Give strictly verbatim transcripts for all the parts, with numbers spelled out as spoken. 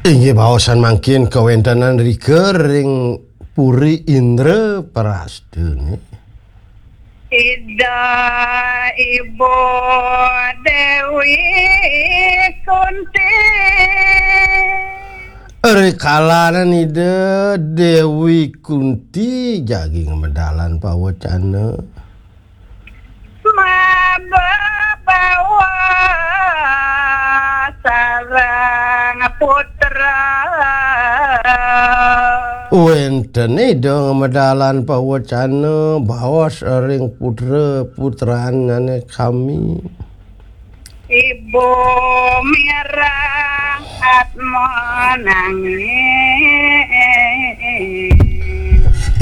Inggih baosan mangkin kawéntenan rika ring Puri Indraprastha. Ida Ibu Déwi Kunti. Rikalaning Ida Déwi Kunti jagi ngamedalan pawecana. Mabebawa sareng putra. Wénten Ida ngamedalan pawecana baos ring putra-putranane kami. Ibu mireng atma nangis.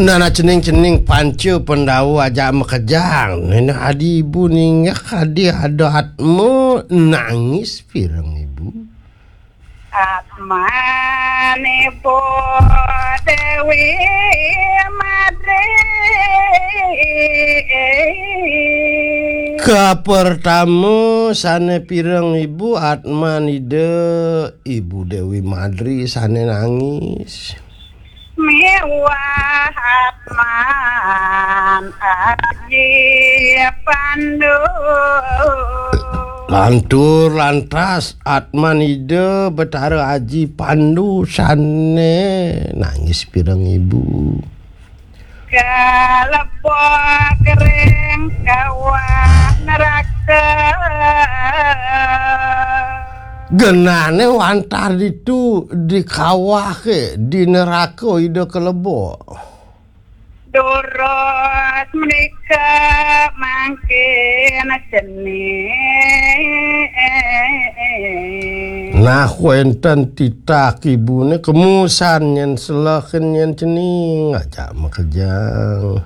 Nana cening-cening panca Pandawa ajak makejang. Nena adi ibu ningeh adi ada atma nangis pireng ibu. Atman Ibu Déwi Madri. Kapertama sane pireng ibu atman Ida Ibu Déwi Madri sane nangis. Miwah atman Aji Pandu. Lantur lantas atman Ida Betara Aji Pandu sane nangis pireng ibu. Kalebok ring kawah neraka. Genane wantah ditu di kawah ke, di neraka Ida kalebok. Durus menika mangkin cening. Nah, wénten titah ibune kemusan nyen selehin nyen cening ajak makejang.